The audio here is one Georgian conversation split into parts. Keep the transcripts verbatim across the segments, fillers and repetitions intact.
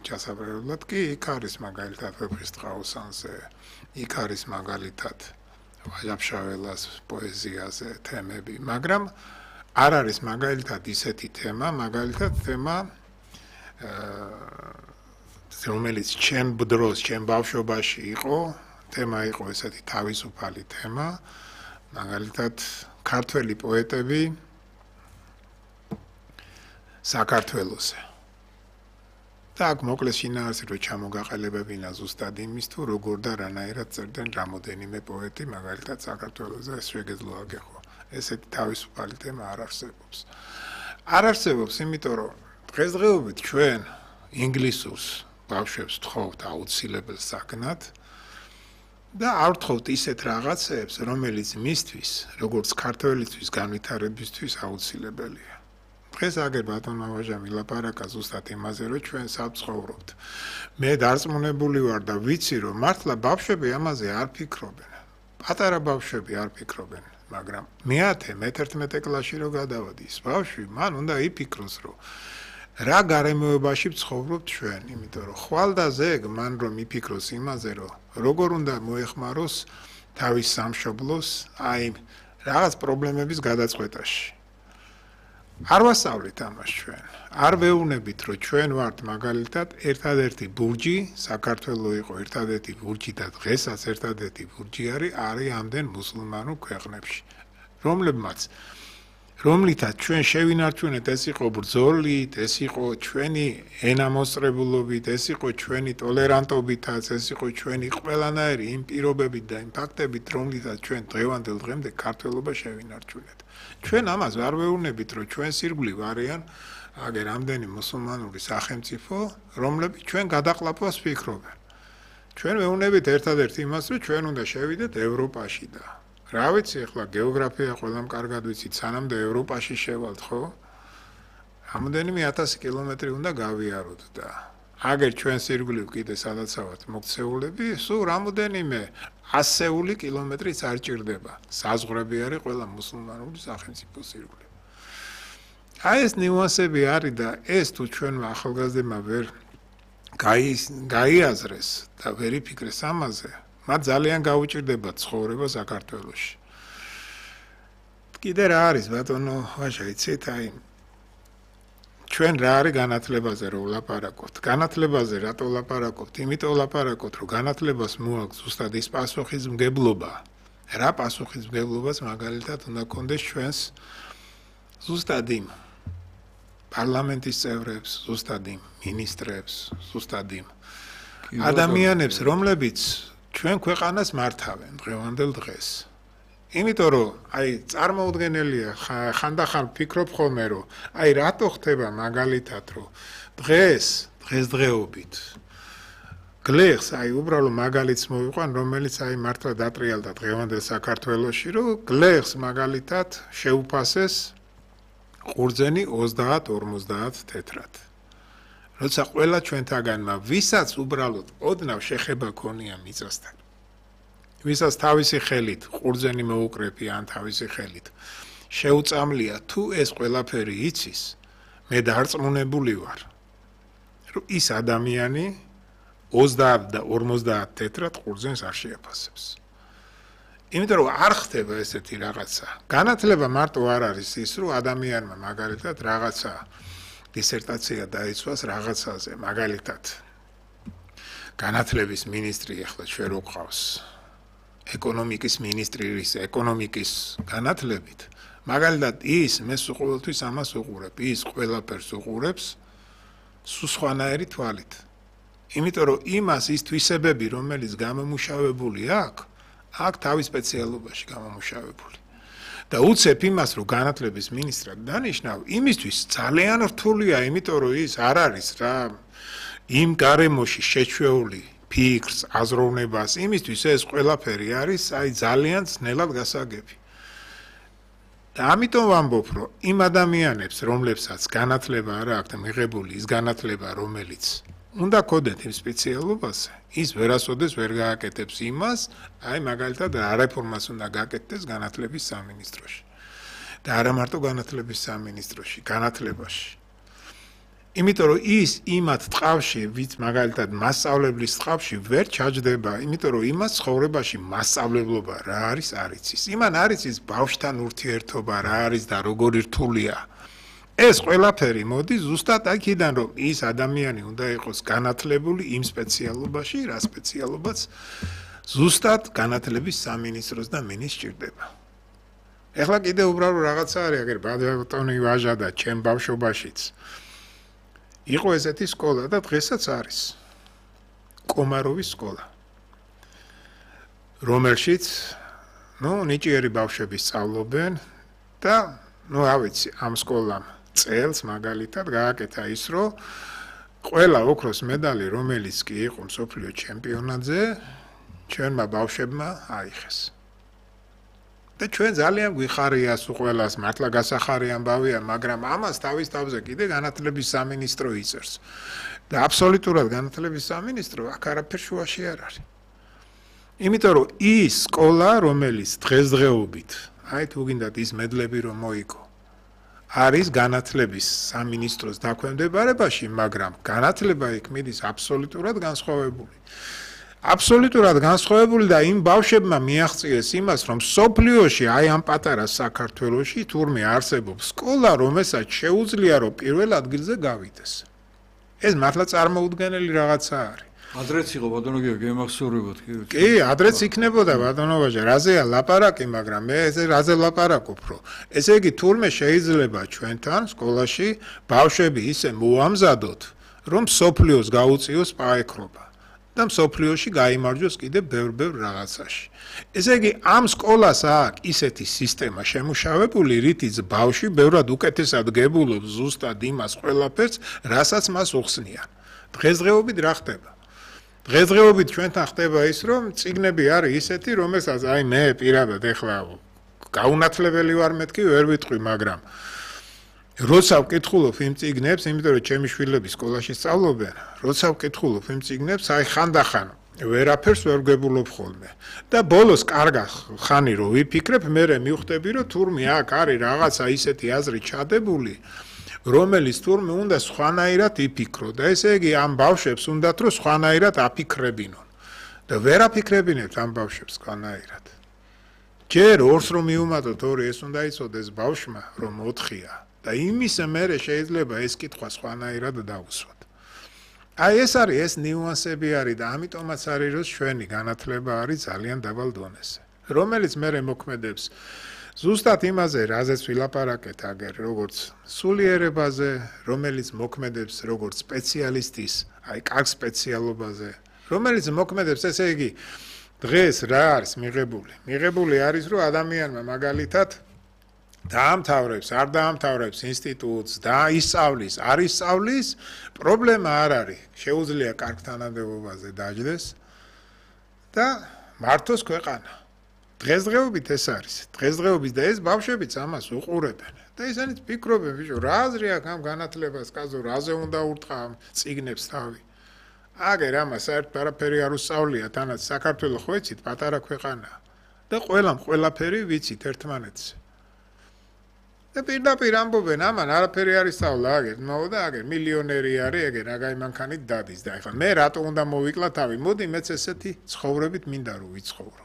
ჩასაბრალებლად კი იქ არის მაგალითად ვეფხისტყაოსანზე, იქ არის მაგალითად ვაჟაფშაველას პოეზიაზე თემები, მაგრამ არ არის მაგალითად ისეთი თემა, მაგალითად თემა რომელიც ჩემ დროს, ჩემ ბავშვობაში იყო, თემა იყო ესეთი თავისუფალი თემა, მაგალითად ქართველი პოეტები საქართველოსზე. და აქ მოკლეს შინაარსი რო ჩამოგაყალიბებინა ზუსტად იმის თუ როგორ და რანაირად წერდნენ რამოდენიმე პოეტი, მაგალითად საქართველოსზე ეს შეგეძლო აგეხო. ესეთი თავისუფალი თემა არ არსებობს. არ არსებობს, იმიტომ რომ დღესდღეობით ჩვენ ინგლისურს ბავშვებს ვთხოვთ აუცილებელ საგნად და არ ვთხოვთ ისეთ რაღაცებს, რომელიც მისთვის, როგორც ქართველისთვის განვითარებისთვის აუცილებელია. დღეს აგერ ბატონმა ვაჟამ ილაპარაკა ზუსტად იმაზე, რომ ჩვენ საცხოვრობთ. მე დარწმუნებული ვარ და ვიცი, რომ მართლა ბავშვები ამაზე არ ფიქრობენ. პატარა ბავშვები არ ფიქრობენ, მაგრამ მეათე, მეთერთმეტე კლასში რო გადავადის, ბავშვი მან უნდა იფიქროს, რომ რა გარემოებაში ვცხოვრობთ ჩვენ, იმიტომ რომ ხვალ და ზეგ მან რომ იფიქროს იმაზე, რომ როგორ უნდა მოეხმაროს თავის სამშობლოს, აი რაღაც პრობლემების გადაწყვეტაში. არ ვასწავლით ამას ჩვენ. არ ვეუბნებით, რომ ჩვენ ვართ მაგალითად ერთადერთი ბურჯი, საქართველოს იყო ერთადერთი ბურჯი და დღესაც ერთადერთი ბურჯი არის არის ამდენ მუსულმანურ ქვეყნებში, რომლებმაც რომლითაც ჩვენ შევინარჩუნეთ, ეს იყო ბრძოლით, ეს იყო ჩვენი ენამოსწრებულობით, ეს იყო ჩვენი ტოლერანტობითაც, ეს იყო ჩვენი ყველანაირი იმ პირობებით და იმ ფაქტებით, რომლითაც ჩვენ დღევანდელ დღემდე ქართველობა შევინარჩუნეთ. ჩვენ ამას არ ვეუბნებით, რომ ჩვენს ირგვლივ არიან აგერ ამდენი მუსულმანური სახელმწიფო, რომლებიც ჩვენ გადაყლაპვას ფიქრობენ. ჩვენ ვეუბნებით ერთადერთ იმას, რომ ჩვენ უნდა შევიდეთ ევროპაში და რა ვიცი, ახლა გეოგრაფია ყველამ კარგად ვიცით, სანამდე ევროპაში შევალთ, ხო? რამოდენიმე ათასი კილომეტრი უნდა გავიაროთ და აგერ ჩვენს ირგვლივ კიდე სადაც ვართ მოქცეულები, სულ რამოდენიმე ასეული კილომეტრიც არ ჭირდება. საზღვრები არის ყველა მუსულმანური სახელმწიფოს ირგვლივ. აი ეს ნიუანსები არის და ეს თუ ჩვენმა ახალგაზრდებმა ვერ გაიაზრეს და ვერ იფიქრეს ამაზე, მათ ძალიან გაუჭირდება ცხოვრება საქართველოში. კიდე რა არის ბატონო ვაჟა, იცით, აი ჩვენ რა არის განათლებაზე რომ ვლაპარაკობთ. განათლებაზე რატო ვლაპარაკობთ? იმიტომ ვლაპარაკობთ, რომ განათლებას მოაქვს ზუსტად ის პასუხისმგებლობა. რა პასუხისმგებლობას მაგალითად უნდა გქონდეს ჩვენს ზუსტად იმ პარლამენტის წევრებს, ზუსტად იმ მინისტრებს, ზუსტად იმ ადამიანებს, რომლებიც ჩვენ ქვეყანას მართავენ დღევანდელ დღეს. იმიტომ რომ აი წარმოუდგენელია ხანდახან ვფიქრობ ხოლმე რომ აი რატო ხდება მაგალითად რომ დღეს დღესდღეობით გლეხს აი უბრალოდ მაგალითს მოვიყვან რომელიც აი მართლა დატრიალდა დღევანდელ საქართველოში რომ გლეხს მაგალითად შეუფასეს ყურძენი ოცდაათ ორმოცდაათ თეთრად. როცა ყველა ჩვენთაგანმა ვისაც უბრალოდ ოდნავ შეხება ქონია მიწასთან, ვისაც თავისი ხელით ყურძენი მოუკრეფი ან თავისი ხელით შეუწამლია თუ ეს ყველაფერი იცის, მე დარწმუნებული ვარ, რომ ის ადამიანი ოცდაათ და ორმოცდაათ თეთრად ყურძენს არ შეაფასებს. იმიტომ რომ არ ხდება ესეთი რაღაცა. განათლება მარტო არ არის ის, რომ ადამიანმა მაგალითად რაღაცა დისერტაცია დაიცვას რაღაცაზე, მაგალითად განათლების მინისტრი ახლა ჩვენ რო ყავს ეკონომიკის მინისტრის ეკონომიკის განათლებით, მაგალითად ის მე ყოველთვის ამას უყურებ, ის ყველაფერს უყურებს სულ სხვანაირი თვალით. იმიტომ რომ იმას ის თვისებები, რომელიც გამომუშავებული აქვს, აქ თავის სპეციალობაში გამომუშავებული. და უცებ იმას, რომ განათლების მინისტრად დანიშნავ, იმისთვის ძალიან რთულია, იმიტომ რომ ის არ არის რა იმ გარემოში შეჩვეული ფიქრს, აზროვნებას, იმისთვის ეს ყველაფერი არის აი ძალიან ძნელად გასაგები. და ამიტომ ვამბობ, რომ იმ ადამიანებს, რომლებსაც განათლება არ აქვთ მიღებული, ის განათლება, რომელიც უნდა ქონდეთ იმ სპეციალობაზე, ის ვერასოდეს ვერ გააკეთებს იმას, აი მაგალითად რა რეფორმას უნდა გააკეთდეს განათლების სამინისტროში. და არა მარტო განათლების სამინისტროში, განათლებაში. იმიტომ რომ ის იმათ ტყავში, ვიც მაგალითად მასწავლებლის ტყავში ვერ ჩაჯდება, იმიტომ რომ იმას ცხოვრებაში მასწავლებლობა რა არის არ იცის. იმან არ იცის ბავშვთან ურთიერთობა რა არის და როგორი რთულია. ეს ყველაფერი მოდის ზუსტად აქედან, რომ ის ადამიანი უნდა იყოს განათლებული იმ სპეციალობაში, რა სპეციალობაც ზუსტად განათლების სამინისტროს და მინის სჭირდება. ეხლა კიდე უბრალოდ რაღაცა არის, აგერ ბატონი ვაჟა და ჩემ ბავშვობაშიც იყო ესეთი სკოლა და დღესაც არის. კომაროვის სკოლა. რომელშიც, ნუ, ნიჭიერი ბავშვები სწავლობენ და, ნუ, რა ვიცი, ამ სკოლამ წელს მაგალითად გააკეთა ის, რომ ყველა ოქროს მედალი, რომელიც კი იყო მსოფლიო ჩემპიონატზე, ჩვენმა ბავშვებმა აიღეს. და ჩვენ ძალიან გვიხარია სულ ყველას, მართლა გასახარი ამბავია, მაგრამ ამას თავის თავზე კიდე განათლების სამინისტრო იწერს. და აბსოლუტურად განათლების სამინისტრო აქ არაფერ შუაში არ არის. იმიტომ რომ ის სკოლა, რომელიც დღესდღეობით, აი თუ გინდათ ის მედლები რომ მოიგო, არის განათლების სამინისტროს დაქვემდებარებაში, მაგრამ განათლება იქ მიდის აბსოლუტურად განსხვავებული. აბსოლუტურად განსხვავებული და იმ ბავშვებმა მიაღწიეს იმას, რომ სოფლიოში, აი ამ პატარა საქართველოში თურმე არსებობს სკოლა, რომელსაც შეუძლია რომ პირველ ადგილზე გავიდეს. ეს მართლა წარმოუდგენელი რაღაცა არის. ადრეც იყო ბატონო გიორგი, გემახსოვრებოდ კი. კი, ადრეც იქნებოდა ბატონო ვაჟა, რაზეა ლაპარაკი, მაგრამ მე ესე რაზე ლაპარაკობ, რომ ესე იგი თურმე შეიძლება ჩვენთან სკოლაში ბავშვები ისე მოამზადოთ, რომ სოფლიოს გაუწიოს პაექრობა. და მსოფლიოში გაიმარჯვოს კიდე ბევრ-ბევრ რაღაცაში. ესე იგი, ამ სკოლას აქვს ისეთი სისტემა შემუშავებული, რითიც ბავშვი ბევრად უკეთესად გებულობს ზუსტად იმას ყველაფერს, რასაც მას უხსნიან. დღესდღეობით რა ხდება? დღესდღეობით ჩვენთან ხდება ის, რომ წიგნები არის ისეთი, რომელსაც აი მე პირადად ეხლა გაუნათლებელი ვარ მეთქი, ვერ ვიტყვი, მაგრამ როცა ვკითხულობ იმ წიგნებს, იმიტომ რომ ჩემი შვილები სკოლაში სწავლობენ, როცა ვკითხულობ იმ წიგნებს, აი ხანდახან ვერაფერს ვერ ვგებულობ ხოლმე. და ბოლოს კარგა ხანი რო ვიფიქრებ, მე მივხვდები, რომ თურმე აქ არის რაღაცა ისეთი აზრი ჩადებული, რომელიც თურმე უნდა სხვანაირად იფიქრო და ესე იგი ამ ბავშვებს უნდათ რომ სხვანაირად აფიქრებინონ. და ვერ აფიქრებინებთ ამ ბავშვებს სხვანაირად. ჯერ ორს რომ მიუმატოთ ორი, ეს უნდა იცოდეს ბავშვმა, რომ ოთხია. და იმის მერე შეიძლება ეს კითხვა სხვანაირად დაუსვათ. აი ეს არის, ეს ნიუანსები არის და ამიტომაც არის, რომ ჩვენი განათლება არის ძალიან დაბალ დონეზე, რომელიც მერე მოქმედებს ზუსტად იმაზე, რაზეც ვილაპარაკეთ აგერ, როგორც სულიერებაზე, რომელიც მოქმედებს როგორც სპეციალისტის, აი კარგ სპეციალობაზე, რომელიც მოქმედებს, ესე იგი, დღეს რა არის მიღებული? მიღებული არის, რომ ადამიანმა მაგალითად დაამთავრებს, არ დაამთავრებს ინსტიტუტს და ისწავლის, არ ისწავლის, პრობლემა არ არის. შეუძლია კარგ თანამდებობაზე დაჯდეს და მართოს ქვეყანა. დღესდღეობით ეს არის. დღესდღეობით და ეს ბავშვებიც ამას უყურებენ. და ისინიც ფიქრობენ, ბიჭო, რა აზრი აქვს ამ განათლებას, კაცო, რაზე უნდა ურტყა ამ წიგნებს თავი. აგერ ამას საერთოდ არაფერი არ უსწავლია, თანაც საქართველოს ხო იცით, პატარა ქვეყანაა. და ყველამ ყველაფერი ვიცით ერთმანეთს. და პირდაპირ ამბობენ, ამან არაფერი არ ისწავლა, აგერ, ნო და აგერ მილიონერი არის, ეგ რაგაი მანქანით დადის და ეხლა მე რატო უნდა მოვიკლა თავი? მოდი მეც ესეთი ცხოვრებით მინდა რომ ვიცხოვრო.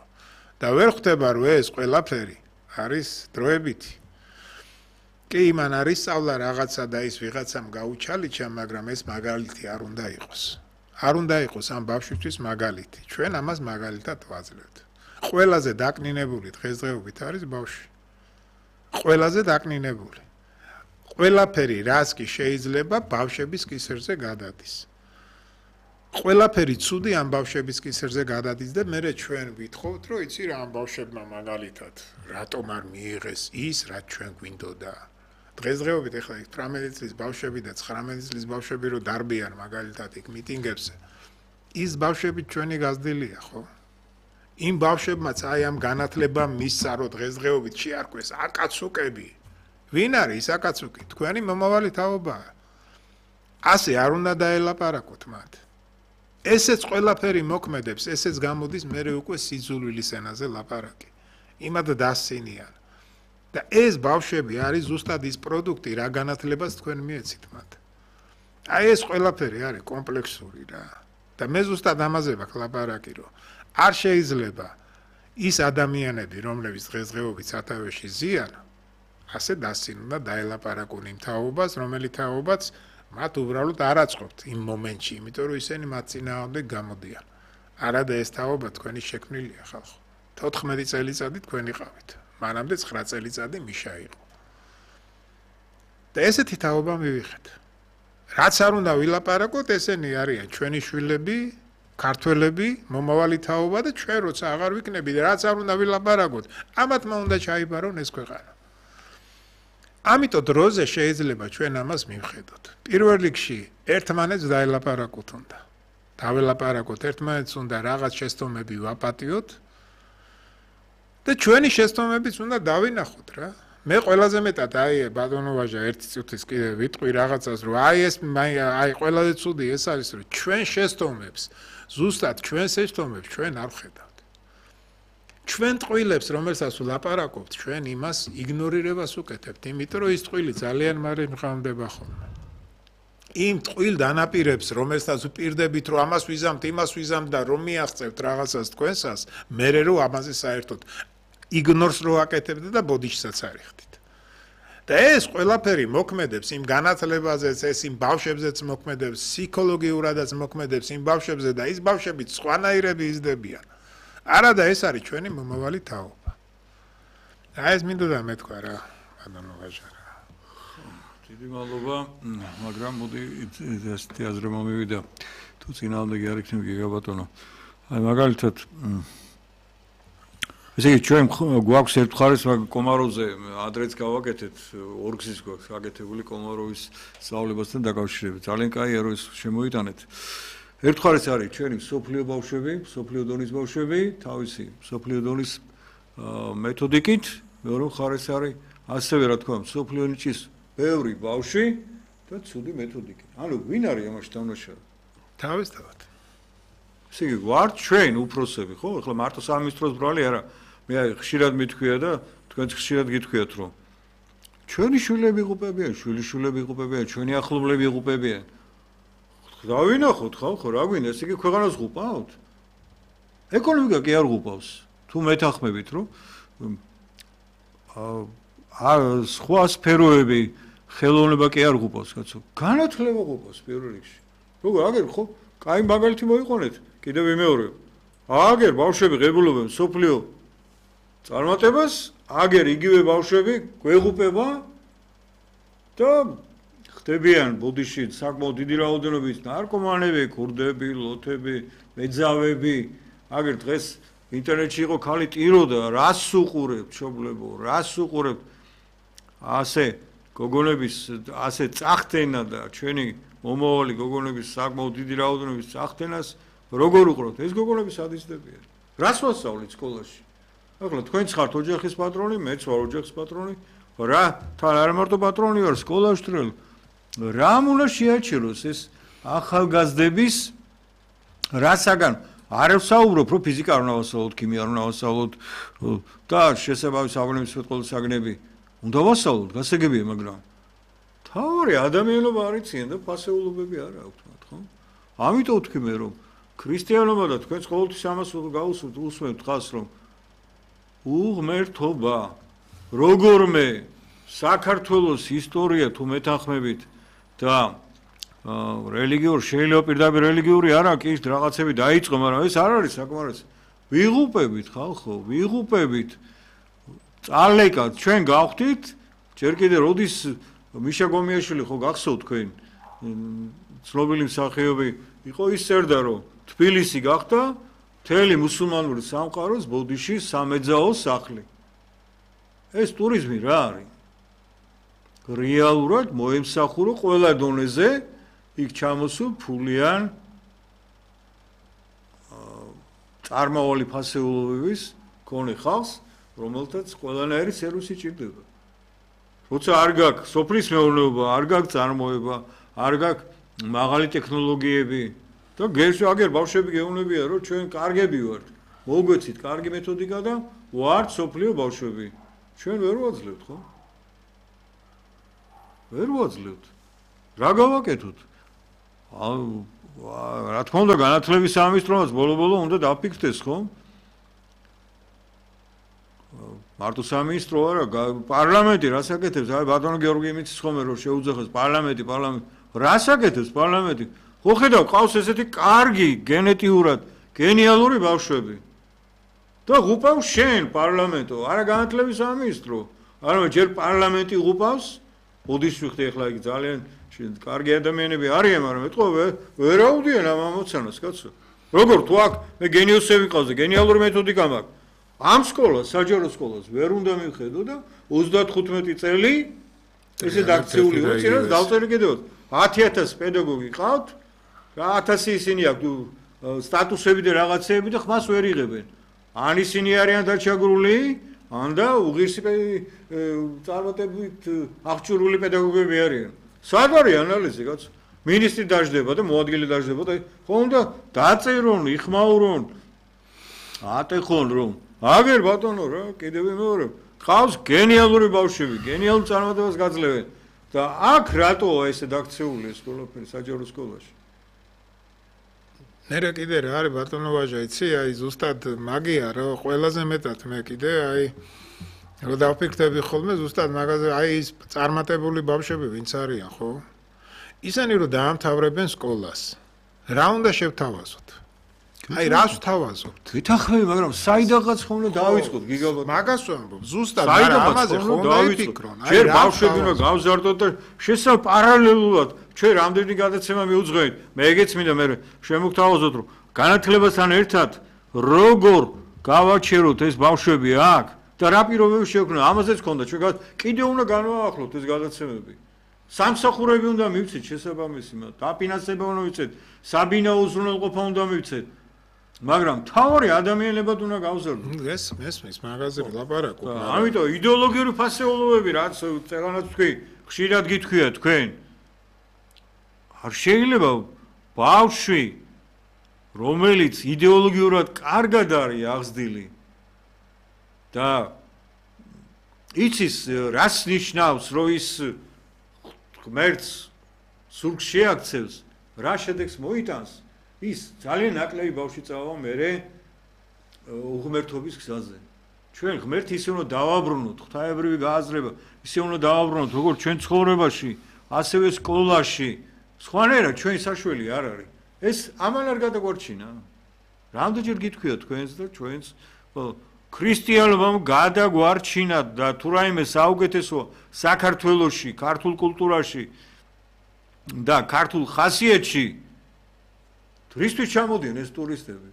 და ვერ ხვდება რომ ეს ყველაფერი არის დროებითი. კი, იმან არის სწავლა რაღაცა და ის ვიღაცამ გაუჩალიჩა, მაგრამ ეს მაგალითი არ უნდა იყოს. არ უნდა იყოს ამ ბავშვისთვის მაგალითი. ჩვენ ამას მაგალითად ვაძლევთ. ყველაზე დაკნინებული დღესდღეობით არის ბავშვი. ყველაზე დაკნინებული. ყველაფერი რაც კი შეიძლება ბავშვების კისერზე გადადის. ყველაფერი ცუდი ამ ბავშვების კისერზე გადადის და მე ჩვენ ვითხოვთ, რომ იცი რა ამ ბავშვებმა მაგალითად რატომ არ მიიღეს ის, რაც ჩვენ გვინდოდა. დღესდღეობით ეხლა თვრამეტი წლის ბავშვები და ცხრამეტი წლის ბავშვები რო დარბიან მაგალითად იქ მიტინგებზე. ის ბავშვები ჩვენი გაზრდილია, ხო? იმ ბავშვებმაც აი ამ განათლება მისცა, რომ დღესდღეობით შეარქვეს აკაცუკები. ვინ არის ის აკაცუკი? თქვენი მომავალი თაობაა. ასე არ უნდა დაელაპარაკოთ მათ. ესეც ყველაფერი მოქმედებს, ესეც გამოდის მერე უკვე სიძულვილის ენაზე ლაპარაკი. იმად დასცინიან. და ეს ბავშვები არის ზუსტად ის პროდუქტი, რა განათლებას თქვენ მიეცით მათ. აი ეს ყველაფერი არის კომპლექსური რა. და მე ზუსტად ამაზე ვაკ ლაპარაკი, რომ არ შეიძლება ის ადამიანები, რომლებიც დღესდღეობით სათავეში ზიან, ასე დასცინონ და დაელაპარაკონ იმ თაობას, რომელიც თაობაც მათ უბრალოდ არ აწყობთ იმ მომენტში, იმიტომ რომ ისინი მათ წინააღმდეგ გამოდიან. არადა ეს თაობა თქვენი შექმნილია ხალხო. თოთხმეტი წელიწადი თქვენ იყავით. მანამდე ცხრა წელიწადი მიშა იყო. და ესეთი თაობა მივიღეთ. რაც არ უნდა ვილაპარაკოთ, ესენი არიან ჩვენი შვილები, ქართველები, მომავალი თაობა და ჩვენ როცა აღარ ვიქნები და რაც არ უნდა ვილაპარაკოთ, ამათმა უნდა ჩაიბარონ ეს ქვეყანა. ამიტომ დროზე შეიძლება ჩვენ ამას მივხედოთ. პირველ რიგში ერთმანეთს დაელაპარაკოთ უნდა. დაველაპარაკოთ ერთმანეთს უნდა რაღაც შეცდომები ვაპატიოთ და ჩვენი შეცდომებიც უნდა დავინახოთ რა. მე ყველაზე მეტად აი ბატონო ვაჟა ერთი წუთის კიდე ვიტყვი რაღაცას რომ აი ეს აი ყველაზე ცუდი ეს არის რომ ჩვენ შეცდომებს ზუსტად ჩვენ შეცდომებს ჩვენ არ ვხედავთ. ჩვენ ტყუილებს რომელსაც ვლაპარაკობთ ჩვენ იმას იგნორირებას უკეთებთ იმიტომ რომ ის ტყუილი ძალიან მალე მღამდება ხოლმე. იმ ტყუილ დანაპირებს რომელსაც უპირდებით რომ ამას ვიზამთ იმას ვიზამთ და რომ მიაღწევთ რაღაცას თქვენსას მერე რომ ამაზე საერთოდ იგნორს რო აკეთებთ და ბოდიშსაც არიხდით. და ეს ყველაფერი მოქმედებს იმ განათლებაზეც, ეს იმ ბავშვებზეც მოქმედებს, ფსიქოლოგიურადაც მოქმედებს იმ ბავშვებზე და ის ბავშვები სხვანაირები იზრდებიან. არადა ეს არის ჩვენი მომავალი თაობა. აი ეს მინდოდა მეთქვა რა, ბატონო ვაჟა. დიდი მადლობა, მაგრამ მოდი ესეთი აზრმა მივიდა. თუ წინააღმდეგი არ იქნება გიგაბატონო. აი მაგალითად ესე იგი ჩვენ გვაქვს ერთ მხარეს კომაროვზე ადრეც გავაკეთეთ ორგზის გვაქვს გაკეთებული კომაროვის სწავლებასთან დაკავშირებით. ძალიან კაია რომ ეს შემოიტანეთ. ერთ მხარეს არის ჩვენი სოფლიო ბავშვები, სოფლიო დონის ბავშვები, თავისი სოფლიო დონის მეთოდიკით, მეორე მხარეს არის ასევე რა თქვა, სოფლიო ნიჭის ბევრი ბავშვი და ცუდი მეთოდიკით. ანუ ვინ არის ამაში დამნაშავე? თავისთავად. ესე იგი ვართ ჩვენ უფროსები, ხო? ეხლა მარტო სამინისტროს ბრალი არა. მე აი ხშირად მithქვია და თქვენც ხშირად გითქვიათ რომ ჩვენი შვილები იღუპებიან, შვილიშვილები იღუპებიან, ჩვენი ახლობლები იღუპებიან. დავინახოთ ხალხო, რა გვინდა, ესე იგი ქვეყანას ღუპავთ? ეკონომიკა კი არ ღუპავს. თუ მეთანხმებით რომ აა სხვა სფეროები ხელოვნება კი არ ღუპავს, კაცო. განათლება ღუპავს პირველ რიგში. როგორ აგერ ხო? კაი მაგალითი მოიყონეთ. კიდევ ვიმეორებ. აგერ ბავშვები ღებულობენ სოფლიო წარმატებას, აგერ იგივე ბავშვები გვეღუპება და ხდებიან ბოდიში საკმაოდ დიდი რაოდენობით ნარკომანები, ქურდები, ლოთები, მეძავები. აგერ დღეს ინტერნეტში იყო ქალი ტიროდა, რას უყურებთ, მშობლებო, რას უყურებთ? ასე გოგონების ასე წახდენა და ჩვენი მომავალი გოგონების საკმაოდ დიდი რაოდენობის წახდენას როგორ უყურებთ? ეს გოგონები სად იზრდებიან? რას ვასწავლეთ სკოლაში? ახლა თქვენც ხართ ოჯახის პატრონი, მეც ვარ ოჯახის პატრონი. რა, თან არ მარტო პატრონი ვარ, სკოლაში ვტრელ. რამ უნდა შეაჩეროს ეს ახალგაზრდების რასაგან არ ვსაუბრობ, რომ ფიზიკა არ უნდა ვასწავლოთ, ქიმია არ უნდა ვასწავლოთ და შესაბამის საგნების საგნები უნდა ვასწავლოთ, გასაგებია, მაგრამ თავარი ადამიანობა არ იციან და ფასეულობები არ აქვთ მათ, ხო? ამიტომ ვთქვი მე, რომ ქრისტიანობა და თქვენც ყოველთვის ამას გაუსვით, უსმენთ ხას, რომ უღმერთობა როგორმე საქართველოს ისტორია თუ მეთანხმებით და რელიგიურ შეიძლება პირდაპირ რელიგიური არა კი რაღაცები დაიწყო, მაგრამ ეს არ არის საკმარისი. ვიღუპებით ხალხო, ვიღუპებით. წალეკა ჩვენ გავხდით, ჯერ კიდე როდის მიშა გომიაშვილი ხო გახსოვთ თქვენ ცნობილი მსახიობი იყო ის წერდა რომ თბილისი გახდა მთელი მუსულმანური სამყაროს ბოდიში სამეძაო სახლი. ეს ტურიზმი რა არის? რეალურად მოემსახურო ყველა დონეზე იქ ჩამოსულ ფულიან წარმავალი ფასეულობების მქონე ხალხს, რომელთაც ყველანაირი სერვისი ჭირდება. როცა არ გაქვს სოფლის მეურნეობა, არ გაქვს წარმოება, არ გაქვს მაღალი ტექნოლოგიები და გერში აგერ ბავშვები გეუბნებიან, რომ ჩვენ კარგები ვართ. მოგვეცით კარგი მეთოდიკა და ვართ სოფლიო ბავშვები. ჩვენ ვერ ვაძლევთ, ხო? ვერ ვაძლევთ. რა გავაკეთოთ? რა თქმა უნდა განათლების სამინისტროც ბოლო-ბოლო უნდა დაფიქრდეს, ხო? მარტო სამინისტრო არა, პარლამენტი რას აკეთებს? აი ბატონო გიორგი იმიცის ხომ რომ შეუძახეს პარლამენტი, პარლამენტი. რას აკეთებს პარლამენტი? ხო ხედავ, ყავს ესეთი კარგი გენეტიურად გენიალური ბავშვები. და ღუპავს შენ პარლამენტო, არა განათლების სამინისტრო. არა ჯერ პარლამენტი ღუპავს, ბუდის ვიხდი ახლა იგი ძალიან კარგი ადამიანები არიან, მაგრამ ეთყობა ვერ აუდიან ამ ამოცანას, კაცო. როგორ თუ აქ მე გენიოსები ყავს და გენიალური მეთოდიკა მაქვს. ამ სკოლას, საჯარო სკოლას ვერ უნდა მივხედო და ოცდათხუთმეტი წელი ესე დაქცეული უცირას დავწერი კიდევ ათი ათასი პედაგოგი ყავთ და ათასი ისინი აქვს სტატუსები და რაღაცეები და ხმას ვერ იღებენ. ან ისინი არიან დაჩაგრული, ან და უღირსი წარმატებით აღჭურვილი პედაგოგები არიან. სად არის ანალიზი, კაცო? მინისტრი დაждდება და მოადგილე დაждდება და ხო უნდა დაწერონ, იხმაურონ, ატეხონ რომ აგერ ბატონო რა, კიდევ მეორე. ყავს გენიალური ბავშვები, გენიალურ წარმატებას გაძლევენ და აქ რატოა ესე დაქცეული ეს ყველაფერი საჯარო სკოლაში? ნერე კიდე რა არის ბატონო ვაჟა, იცი, აი ზუსტად მაგია რა, ყველაზე მეტად მე კიდე აი რო დავფიქრდები ხოლმე ზუსტად მაგაზე, აი ის წარმატებული ბავშვები ვინც არიან, ხო? ისინი რო დაამთავრებენ სკოლას. რა უნდა შევთავაზოთ? აი რას ვთავაზობთ? გითახმები, მაგრამ საიდანღაც ხომ უნდა დავიწყოთ გიგაბატონო. მაგას ვამბობ, ზუსტად მაგრამ ამაზე ხომ უნდა ვიფიქრონ. აი ჯერ ბავშვები უნდა გავზარდოთ და შესაძლოა პარალელურად ჩვენ რამდენი გადაცემა მიუძღვენთ. მე ეგეც მინდა მე შემოგთავაზოთ რომ განათლებასთან ერთად როგორ გავაჩეროთ ეს ბავშვები აქ და რა პირობები შეგვქნა. ამაზეც ქონდა ჩვენ კიდევ უნდა განვაახლოთ ეს გადაცემები. სამსახურები უნდა მივცეთ შესაბამისი, დაფინანსება უნდა მივცეთ, საბინაო უზრუნველყოფა უნდა მივცეთ. მაგრამ თავი ადამიანებად უნდა გავზარდოთ. ეს მესმის მაგაზე ვლაპარაკობ. ამიტომ იდეოლოგიური ფასეულობები რაც წეგანაც თქვი, ხშირად გითქვია თქვენ. არ შეიძლება ბავშვი რომელიც იდეოლოგიურად კარგად არის აღზრდილი და იცის რას ნიშნავს რომ ის ღმერთს სულს შეაქცევს, რა შედეგს მოიტანს, ის ძალიან ნაკლები ბავშვი წავა მერე უღმერთობის გზაზე. ჩვენ ღმერთი ისე უნდა დავაბრუნოთ, ღვთაებრივი გააზრება, ისე უნდა დავაბრუნოთ, როგორც ჩვენ ცხოვრებაში, ასევე სკოლაში. სხვანაირად ჩვენ საშველი არ არის. ეს ამან არ გადაგვარჩინა. რამდენჯერ გითქვია თქვენს და ჩვენს ქრისტიანობამ გადაგვარჩინა და თუ რაიმე საუკეთესო საქართველოში, ქართულ კულტურაში და ქართულ ხასიათში რისთვის ჩამოდიან ეს ტურისტები?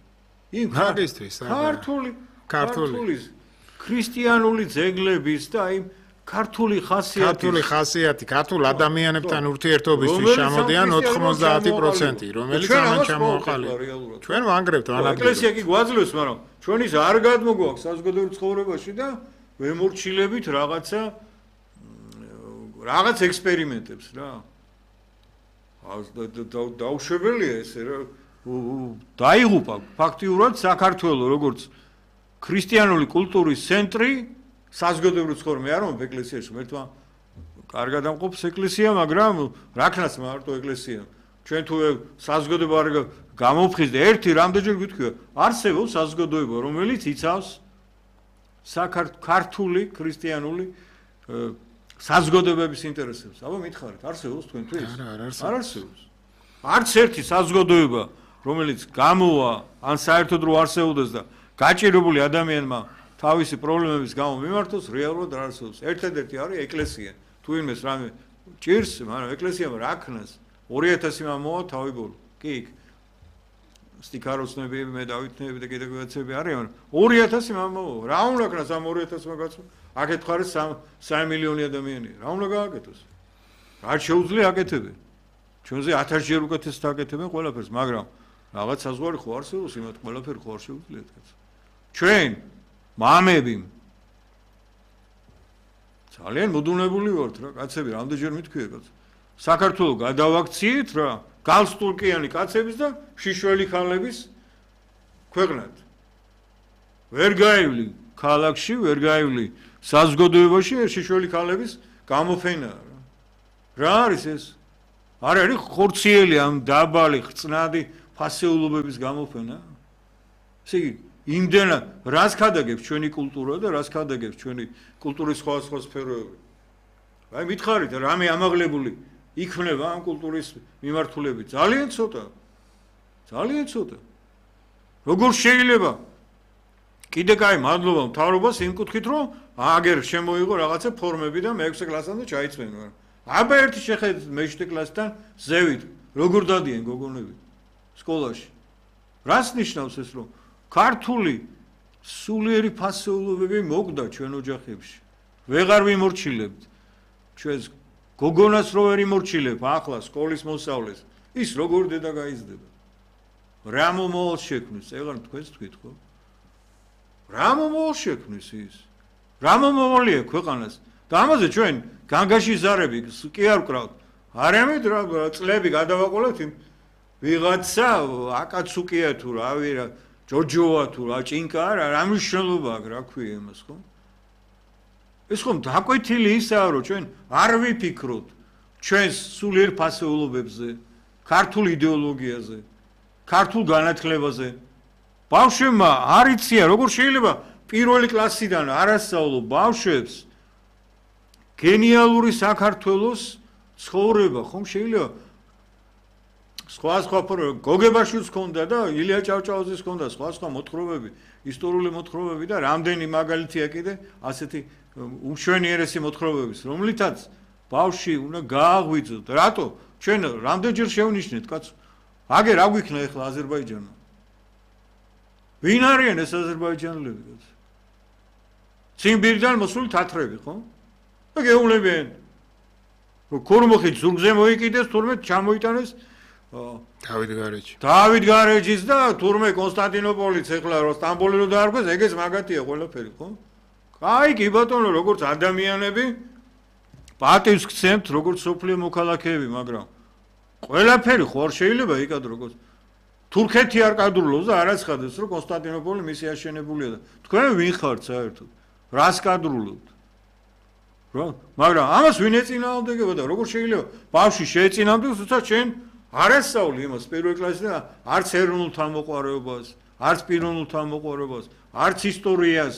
იმ მაგისტრის, ქართული, ქართული, ქრისტიანული ძეგლების და იმ ქართული ხასიათი, ქართული ხასიათი, ქართულ ადამიანებთან ურთიერთობისთვის ჩამოდიან ოცდაათი პროცენტი, რომელიც ამან ჩამოაყალიბა. ჩვენ ვანგრევთ ანადგილებს. ეკლესია კი გვაძლევს, მაგრამ ჩვენ ის არ გადმოგვაქვს საზოგადოებრივ ცხოვრებაში და ვემორჩილებით რაღაცა რაღაც ექსპერიმენტებს რა. დაუშვებელია ესე რა. დაიღუპა ფაქტიურად საქართველოს როგორც ქრისტიანული კულტურის ცენტრი. საზოგადოებრივ ცხოვრება არ მომბ ეკლესიაში მერთმა კარგად ამყოფს ეკლესია, მაგრამ რაკნას მარტო ეკლესია. ჩვენ თუ საზოგადოება არ გამოვხიზ და ერთი რამდენჯერ გითქვია, არსებობს საზოგადოება, რომელიც იცავს საქართველოს ქრისტიანული საზოგადოებების ინტერესებს. აბა მითხარით, არსებობს თქვენთვის? არა, არ არსებობს. არ არსებობს. არც ერთი საზოგადოება, რომელიც გამოვა ან საერთოდ რო არსებობდეს და გაჭირებული ადამიანმა თავისი პრობლემების გამო მიმართოს, რეალურად არ არსებობს. ერთადერთი არის ეკლესია. თუ იმეს რამე ჭირს, მაგრამ ეკლესიამ რა ქნას? ორი ათასი მომავალ თავი ბოლო. კი იქ სტიქაროსნები, მე დავითნები და კიდევ რაღაცები არიან, მაგრამ ორი ათასი მომავალ. რა უნდა ქნას ამ ორი ათასმა კაცმა? აქეთ ხარ სამი მილიონი ადამიანია. რა უნდა გააკეთოს? რა შეუძლია აკეთებენ? ჩვენზე ათასჯერ უკეთესად აკეთებენ ყველაფერს, მაგრამ რაღაც საზღვარი ხო არსებობს, იმათ ყველაფერი ხო არ შეუძლიათ კაცო. ჩვენ მამები ძალიან მოდუნებული ვართ რა კაცები, რამდენჯერ მithქვია კაცო. საქართველოს გადავაქციეთ რა, გალსტურკიანი კაცების და შიშველი ხალების ქვეყნად. ვერ გაივლი ქალაქში, ვერ გაივლი საზოგადოებაში შიშველი ხალების გამოფენა რა. რა არის ეს? არ არის ხორციელი ამ დაბალი ხწნადი ფასეულობების გამოფენა? ესე იგი, იმდენად რას ქადაგებს ჩვენი კულტურა და რას ქადაგებს ჩვენი კულტურის სხვადასხვა სფეროები? აი მითხარით, რამე ამაღლებული იქნება ამ კულტურის მიმართულებით? ძალიან ცოტა. ძალიან ცოტა. როგორ შეიძლება? კიდე კაი, მადლობა მთავრობას იმ კუთხით, რომ აგერ შემოიღო რაღაცა ფორმები და მეექვსე კლასამდე ჩაიწვენა. აბა ერთი შეხედეთ მეშვიდე კლასთან ზევით, როგორ დადიან გოგონები სკოლაში. რას ნიშნავს ეს, რომ ქართული სულიერი ფასეულობები მოკვდა ჩვენ ოჯახებში. ვეღარ ვიმორჩილებთ. ჩვენს გოგონას რო ვერ იმორჩილებ ახლა სკოლის მოსავლეს, ის როგორ დედა გაიზრდება? რა მომავალს შექმნის? ეგარ თქვენს თქვით ხო? რა მომავალს შექმნის ის? რა მომავალი აქვს ქვეყანას? და ამაზე ჩვენ განგაში ზარები კი არ ვკრავთ. არამედ რა წლები გადავაყოლეთ იმ ვიღაცა აკაცუკია თუ რავი რა ჯოჯოა თუ რა ჭინკა რა რა მნიშვნელობა აქვს რა ქვია იმას ხო? ეს ხომ დაკვეთილი ისაა რომ ჩვენ არ ვიფიქროთ ჩვენს სულიერ ფასეულობებზე, ქართულ იდეოლოგიაზე, ქართულ განათლებაზე. ბავშვებმა არ იციან როგორ შეიძლება პირველი კლასიდან არასწავლო ბავშვებს გენიალური საქართველოს ცხოვრება, ხომ შეიძლება სხვა სხვა გოგებაშვილს ჰქონდა და ილია ჭავჭავაძეს ჰქონდა სხვა სხვა მოთხრობები, ისტორიული მოთხრობები და რამდენი მაგალითია კიდე ასეთი უშვენიერესი მოთხრობების, რომლითაც ბავშვი უნდა გააღვიძოთ. რატო? ჩვენ რამდენჯერ შევნიშნეთ, კაცო? აგერ რა გვიქნა ახლა აზერბაიჯანმა? ვინ არიან ეს აზერბაიჯანელები, კაცო? ციმბირიდან მოსული თათრები, ხო? და გეუბნებიან, რომ ქორმოხით ზურგზე მოიკიდეს, თურმე ჩამოიტანეს დავით გარეჯი. დავით გარეჯის და თურმე კონსტანტინოპოლიც ეხლა რომ სტამბოლი რო დაარქვეს, ეგეც მაგათია ყველაფერი, ხო? აი კი ბატონო, როგორც ადამიანები პატივს გცემთ, როგორც სოფლიო მოქალაქეები, მაგრამ ყველაფერი ხო არ შეიძლება იკადრო როგორც თურქეთი არ კადრულობს და არაცხადეს, რომ კონსტანტინოპოლი მისი აშენებულია და თქვენ ვინ ხართ საერთოდ? რას კადრულობთ? რა? მაგრამ ამას ვინ ეწინააღმდეგება და როგორ შეიძლება ბავშვი შეეწინააღმდეგოს, თუმცა ჩვენ არასწავლი იმას პირველ კლასში და არც ეროვნულ თავმოყვარეობას, არც პიროვნულ თავმოყვარეობას, არც ისტორიას.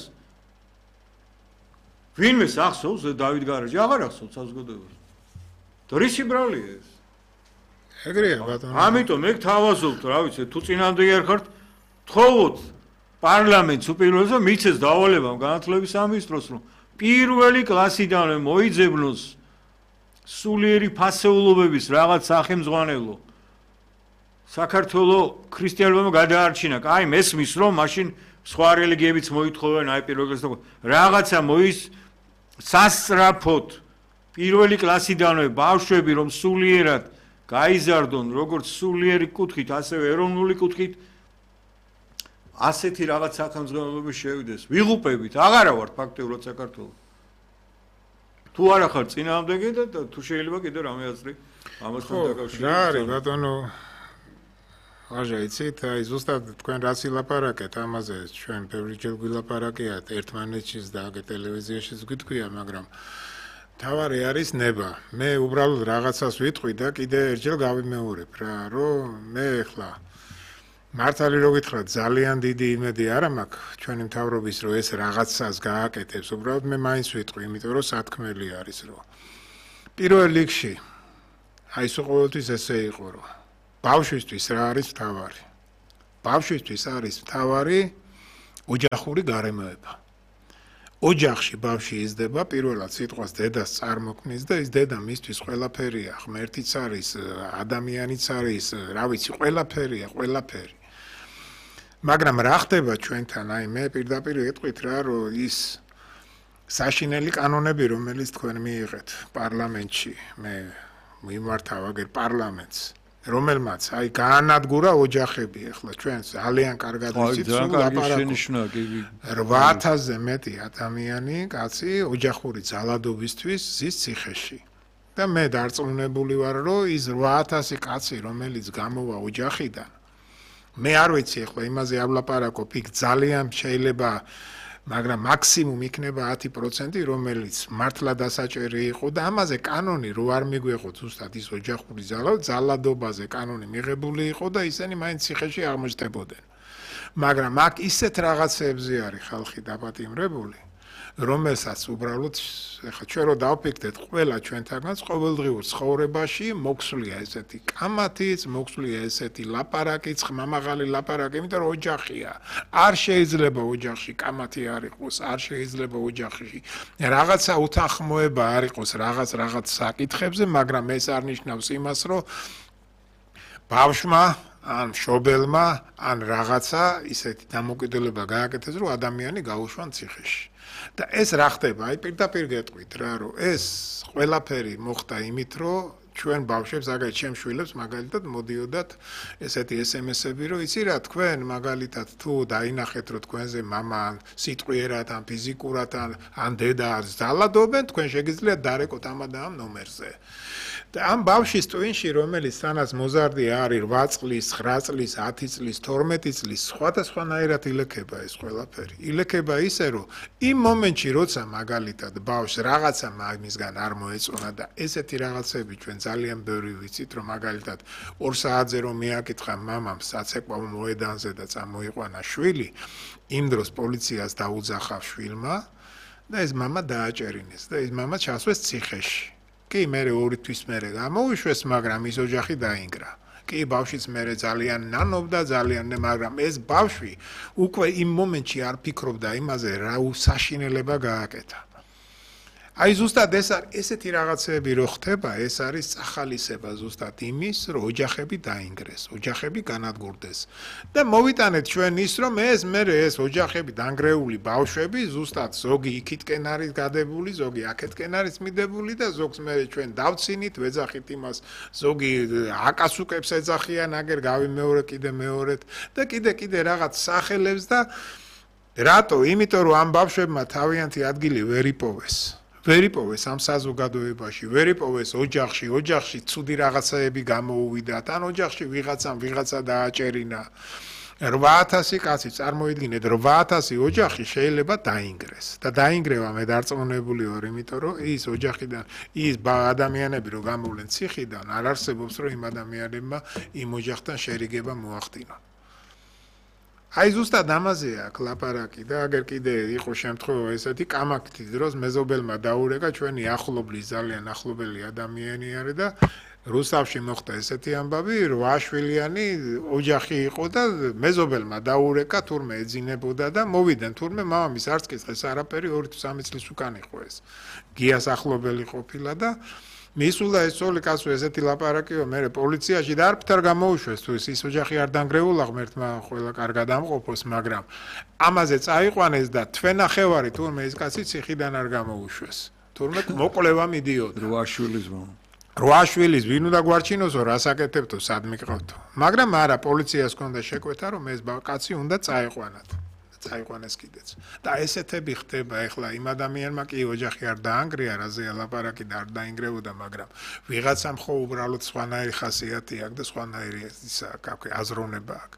ვინმე ახსოვს დავით გარეჯი? აღარ ახსოვს საზოგადოებას. დრისი ბრალია ეს. ეგრეა ბატონო. ამიტომ მე გთავაზობთ, რა ვიცი, თუ წინამდე არ ხართ, თხოვოთ პარლამენტს უპირველეს და მიცეს დავალებამ განათლების სამინისტროს, რომ პირველი კლასიდანვე მოიძებნოს სულიერი ფასეულობების რაღაც სახელმძღვანელო. საქართველოს ქრისტიანობამ გადაარჩინა. აი მესმის რომ მაშინ სხვა რელიგიებიც მოითხოვენ აი პირველ კლასიდან რაღაცა მოის სასწრაფოდ პირველი კლასიდანვე ბავშვები რომ სულიერად გაიზარდონ როგორც სულიერი კუთხით, ასევე ეროვნული კუთხით ასეთი რაღაც სახელმძღვანელოები შევიდეს. ვიღუპებით, აღარა ვართ ფაქტიურად საქართველოს. თუ არა ხარ წინააღმდეგე და თუ შეიძლება კიდე რამე აზრი ამასთან დაკავშირებით. რა არის ბატონო? აჟა იცით, აი ზუსტად თქვენ რას ილაპარაკეთ ამაზე, ჩვენ ბევრჯერ გვილაპარაკიათ ერთმანეთშიც და აგერ ტელევიზიაშიც გითქვია, მაგრამ თავარი არის ნება. მე უბრალოდ რაღაცას ვიტყვი და კიდე ერთხელ გავიმეორებ რა, რომ მე ახლა მართალი რო გითხრათ, ძალიან დიდი იმედი არ მაქვს ჩვენი მთავრობის, რომ ეს რაღაცას გააკეთებს. უბრალოდ მე მაინც ვიტყვი, იმიტომ რომ სათქმელი არის, რომ პირველ რიგში აი ეს ყოველთვის ესე იყო, რომ ბავშვისთვის რა არის მთავარი? ბავშვისთვის არის მთავარი ოჯახური გარემოება. ოჯახში ბავშვი იზრდება, პირველად სიტყვას დედას წარმოქმნის და ის დედა მისთვის ყველაფერია, ღმერთიც არის, ადამიანიც არის, რა ვიცი, ყველაფერია, ყველაფერი. მაგრამ რა ხდება ჩვენთან? აი მე პირდაპირ ეტყვით რა, რომ ის საშინელი კანონები, რომელიც თქვენ მიიღეთ პარლამენტში, მე მიმართავ აგერ პარლამენტს, რომელმაც აი გაანადგურა ოჯახები, ახლა ჩვენ ძალიან კარგად ვიცით, სულ ლაპარაკობთ. რვა ათასზე მეტი ადამიანი, კაცი, ოჯახური ძალადობისთვის ზის ციხეში. და მე დარწმუნებული ვარ, რომ ის რვა ათასი კაცი, რომელიც გამოვა ოჯახიდან, მე არ ვიცი ახლა იმაზე ავლაპარაკობ, იქ ძალიან შეიძლება მაგრამ მაქსიმუმ იქნება ათი პროცენტი, რომელიც მართლა დასაჭერი იყო და ამაზე კანონი რო არ მიგვეყოთ ზუსტად ის ოჯახური ძალა, ძალადობაზე კანონი მიღებული იყო და ისინი მაინც ციხეში აღმოჩნდებოდნენ. მაგრამ აქ ისეთ რაღაცებზე არის ხალხი დაპატიმრებული, რომელსაც უბრალოდ ეხლა ჩვენ რო დავფიქრდეთ, ყველა ჩვენთანაც ყოველდღიურ ცხოვრებაში მოქსვლია ესეთი კამათიც, მოქსვლია ესეთი ლაპარაკიც, ხმამაღალი ლაპარაკი, იმიტომ რომ ოჯახია. არ შეიძლება ოჯახში კამათი არ იყოს, არ შეიძლება ოჯახში რაღაცა უთანხმოება არ იყოს რაღაც რაღაც საკითხებზე, მაგრამ ეს არ ნიშნავს იმას, რომ ბავშვმა ან მშობელმა ან რაღაცა ისეთი დამოკიდებულება გააკეთეს, რომ ადამიანი გაუშვან ციხეში. და ეს რა ხდება? აი პირდაპირ გეტყვით რა, რომ ეს ყველაფერი მოხდა იმით, რომ ჩვენ ბავშვებს, აგერ ჩემ შვილებს მაგალითად მოდიოდათ ესეთი ეს ემ ესები, რომ იცი რა, თქვენ მაგალითად თუ დაინახეთ, რომ თქვენზე მამა სიტყვიერად ან ფიზიკურად ან ან დედა ძალადობენ, თქვენ შეგიძლიათ დარეკოთ ამ და ამ ნომერზე. და ამ ბავშვის ტვინში, რომელიც სანაც მოზარდი არის რვა წლის, ცხრა წლის, ათი წლის, თორმეტი წლის, სხვადასხვანაირად ილექება ეს ყველაფერი. ილექება ისე, რომ იმ მომენტში, როცა მაგალითად ბავშვს რაღაცა მაგისგან არ მოეწონა და ესეთი რაღაცები ჩვენ ძალიან ბევრი ვიცით, რომ მაგალითად ორ საათზე რომ მიაკითხა მამამ საცეკვაო მოედანზე და წამოიყვანა შვილი, იმ დროს პოლიციას დაუძახა შვილმა და ეს მამა დააჭერინეს და ეს მამა ჩასვეს ციხეში. კი, მე ორი თვის მერე გამოუშვეს, მაგრამ ის ოჯახი დაინგრა. კი, ბავშვიც მერე ძალიან ნანობდა, ძალიან, მაგრამ ეს ბავშვი უკვე იმ მომენტში არ ფიქრობდა იმაზე, რა უსაშინელება გააკეთა. აი ზუსტად ეს არის ესეთი რაღაცები რო ხდება, ეს არის წახალისება ზუსტად იმის, რომ ოჯახები დაინგრეს, ოჯახები განადგურდეს. და მოვიტანეთ ჩვენ ის, რომ ეს მერე ეს ოჯახები დანგრეული ბავშვები ზუსტად ზოგი იქითკენ არის გადებული, ზოგი აქეთკენ არის მიდებული და ზოგს მერე ჩვენ დავცინით, ვეძახით იმას, ზოგი აკასუკებს ეძახიან, აგერ გავიმეორე კიდე მეორედ და კიდე კიდე რაღაც სახელებს და რატო? იმიტომ რომ ამ ბავშვებმა თავიანთი ადგილი ვერ იპოვეს. ვერ იპოვეს ამ საზოგადოებაში, ვერ იპოვეს ოჯახში, ოჯახში ცუდი რაღაცაები გამოუვიდათ, ან ოჯახში ვიღაცამ ვიღაცა დააჭერინა. რვა ათასი კაცი წარმოიდგინეთ, რვა ათასი ოჯახი შეიძლება დაინგრეს. და დაინგრევა მე დარწმუნებული ვარ, იმიტომ რომ ის ოჯახიდან, ის ადამიანები რო გამოვლენ ციხიდან, არ არსებობს რომ იმ ადამიანებმა იმ ოჯახთან შერიგება მოახდინონ. აი ზუსტად ამაზეა კლაპარაკი და აგერ კიდე იყო შემთხვევა ესეთი კამათის დროს მეზობელმა დაურეკა ჩვენი ახლობლის ძალიან ახლობელი ადამიანი არის და რუსთავში მოხდა ესეთი ამბავი რვა შვილიანი ოჯახი იყო და მეზობელმა დაურეკა თურმე ეძინებოდა და მოვიდნენ თურმე მამამის არც კითხეს არაფერი ორი თუ სამი წლის უკან იყო ეს გიას ახლობელი ყოფილა და მისულა ეს ძოლი კაცო ესეთი ლაპარაკიო მე პოლიციაში და არ ფთარ გამოუშვეს თუ ის ოჯახი არ დანგრეულა ღმერთმა ყველა კარგად ამყოფოს მაგრამ ამაზე წაიყვანეს და თვენახევარი თურმე ეს კაცი ციხიდან არ გამოუშვეს თურმე მოკვლევა მიდიოდა რვა შვილის მო რვა შვილის ვინ უნდა გვარჩინოსო რას აკეთებთო სად მიყავთო მაგრამ არა პოლიციას ჰქონდა შეკვეთა რომ ეს კაცი უნდა წაიყვანათ წაიყვანეს კიდეც და ესეთები ხდება ეხლა იმ ადამიანმა კი ოჯახი არ დაანგრია რაზეა ლაპარაკი და არ დაინგრეოდა მაგრამ ვიღაცამ ხო უბრალოდ სხვანაირი ხასიათი აქვს და სხვანაირი ისა აქვს აზროვნება აქვს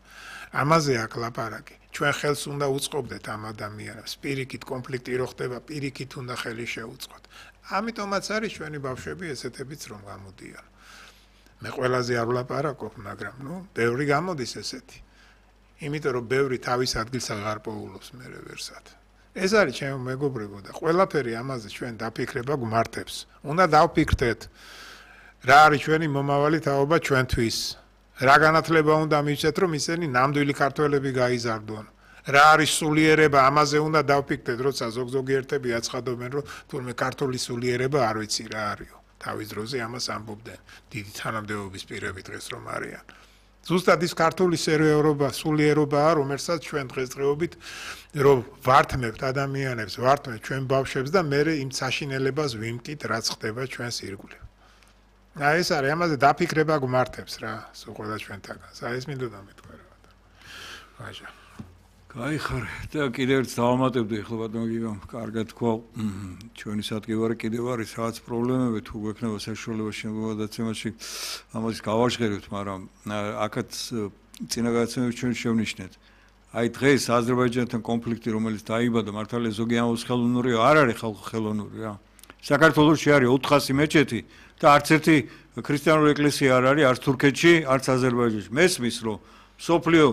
ამაზე აქვს ლაპარაკი ჩვენ ხელს უნდა უწყობდეთ ამ ადამიანებს პირიქით კონფლიქტი რო ხდება პირიქით უნდა ხელი შეუწყოთ ამიტომაც არის ჩვენი ბავშვები ესეთებიც რომ გამოდიან მე ყველაზე არ ვლაპარაკობ მაგრამ ნუ ბევრი გამოდის ესეთი იმიტომ რომ ბევრი თავის ადგილს აღარ პოულობს მე ვერსად. ეს არის ჩემო მეგობრებო და ყველაფერი ამაზე ჩვენ დაფიქრება გვმართებს. უნდა დავფიქრდეთ რა არის ჩვენი მომავალი თაობა ჩვენთვის. რა განათლება უნდა მივცეთ რომ ისინი ნამდვილი ქართველები გაიზარდონ. რა არის სულიერება ამაზე უნდა დავფიქრდეთ როცა ზოგ-ზოგიერთები აცხადობენ რომ თურმე ქართული სულიერება არ ვიცი რა არისო. თავის დროზე ამას ამბობდნენ დიდი თანამდებობის პირები დღეს რომ არიან. ზუსტად ის ქართული სერიოზობა, სულიერობაა, რომელსაც ჩვენ დღესდღეობით რომ ვართმევთ ადამიანებს, ვართმევთ ჩვენ ბავშვებს და მე იმ საშინელებას ვიმკით, რაც ხდება ჩვენს ირგვლივ. აი ეს არის, ამაზე დაფიქრება გვმართებს რა, სულ ყველა ჩვენთაგანს. აი ეს მინდოდა მეთქვა რა. ვაჟა. გაიხარე და კიდევ ერთ დავამატებდი ახლა ბატონო გიგამ, კარგად თქვა, ჩვენი სადგევარი კიდევ არის რაღაც პრობლემები თუ გვექნება საშუალება შემოგადაცემაში ამას გავაშღერებთ, მაგრამ აქაც წინა გადაცემებში ჩვენ შევნიშნეთ. აი დღეს აზერბაიჯანთან კონფლიქტი რომელიც დაიბადა მართალია ზოგი ამბობს ხელოვნურია არ არის ხალხო ხელოვნური რა საქართველოში არის ოთხასი მეჩეთი და არც ერთი ქრისტიანული ეკლესია არ არის არც თურქეთში არც აზერბაიჯანში მესმის რომ სოფლიო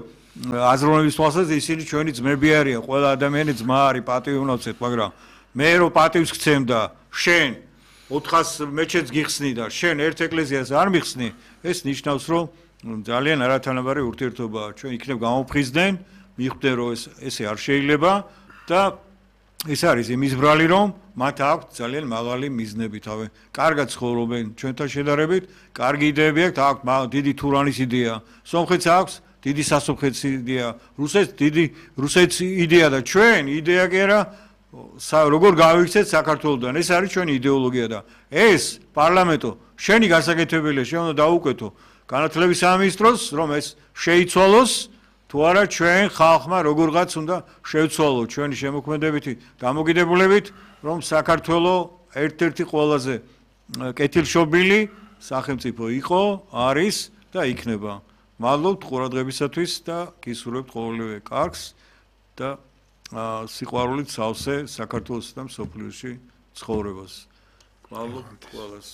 აზროვნების თვალსაზრისით ისინი ჩვენი ძმები არიან ყველა ადამიანი ძმა არის პატივი უნდა ვცეთ მაგრამ მე რო პატივს გცემ და შენ ოთხას მეჩეთს გიხსნი და შენ ერთ ეკლესიას არ მიხსნი ეს ნიშნავს რომ ძალიან არათანაბარი ურთიერთობაა ჩვენ იქნებ გამოფხიზდნენ მიხვდნენ რომ ეს ესე არ შეიძლება და ეს არის იმის ბრალი რომ მათ აქვთ ძალიან მაღალი მიზნები თავი კარგად ცხოვრობენ ჩვენთან შედარებით კარგი იდეები აქვთ აქვთ დიდი თურანის იდეა სომხეთს აქვს დიდი სასომხეთის იდეა რუსეთს დიდი რუსეთის იდეა და ჩვენ იდეა კი არა როგორ გავიქცეთ საქართველოსთან ეს არის ჩვენი იდეოლოგია და ეს პარლამენტო შენი გასაკეთებელია შენ უნდა დაუკვეთო განათლების სამინისტროს რომ ეს შეიცვალოს თუ არა ჩვენ ხალხმა როგორღაც უნდა შევცვალოთ ჩვენი შემოქმედებითი დამოკიდებულებით რომ საქართველოს ერთ-ერთი ყველაზე კეთილშობილი სახელმწიფო იყო არის და იქნება მადლობთ ყურადღებისათვის და გისურვებთ ყოველივე კარგს და სიყვარულით სავსე საქართველოს და მსოფლიოში ცხოვრებას. მადლობთ ყველას.